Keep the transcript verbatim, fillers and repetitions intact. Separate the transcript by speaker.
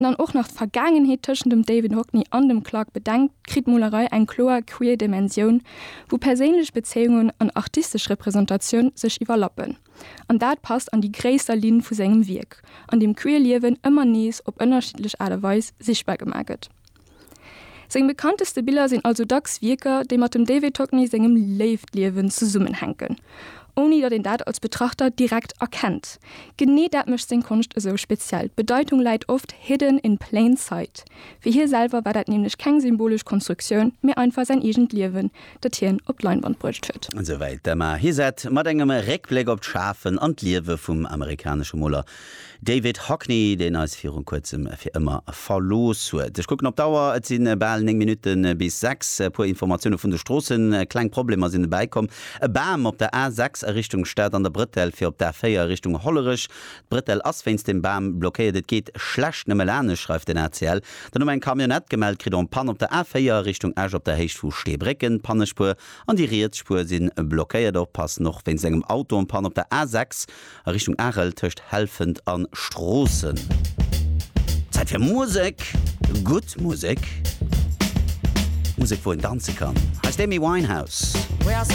Speaker 1: Dann och nach d'Vergaangenheet tëschent dem David Hockney an dem Clarke bedenkt, kritt d'Molerei eng kloer queer Dimensioun, wou perséinlech Bezéiungen an artistesch Representatioun sech iwwerlappen. An dat passt an déi gréisser Linn vu sengem Wierk, an deem queer Liewen ëmmer nees op ënnerschiddlech Aart a Weis sichtbar gemaach gëtt. Seng bekannteste Biller sinn also dacks Wierker, déi mat dem David Hockney sengem Léiftliewen zesummenhänken, ouni datt een dat als Betrachter direkt erkennt. Genee dat mécht seng Konscht esou speziell. D'Bedeitung läit oft hidden in plain sight. Fir hie selwer war dat nämlech keng symbolesch Konstruktioun, mee einfach säin eegent Liewen, dat hien op d'Leinwand bruecht huet.
Speaker 2: Esouwäit d'Emma Hizet mat engem Réckbléck op d'Schafen an d'Liewe vum amerikanesche Moler David Hockney, deen eis viru kuerzem fir ëmmer verlooss huet. Ech kucken op d'Auer, et si bal néng Minutte bis sechs. E puer Informatioune vun de Stroossen, Kleng Problemer sinn dobäi komm. E Bam op der A sechs a Richtung Stad an der Brëtell fir op d'A véier a Richtung Hollerech. D'Brëtell ass wéinst dem Bam blockéiert, et geet schlecht nëmme lanescht, schreift den A C L. Dann hu mer eng Camionnette gemellt kritt en panne op der A véier a Richtung Esch op der Héicht vu Steebrécken. D'Pannespuer an déi riets Spuer si blockéiert. Oppassen och wéinst engem Auto en panne op der A sechs a Richtung Arel tëscht Helfent a Stroossen. Zäit fir Musek, gutt Musek, Musek wou een danze kann. Hei ass d'Amy Winehouse.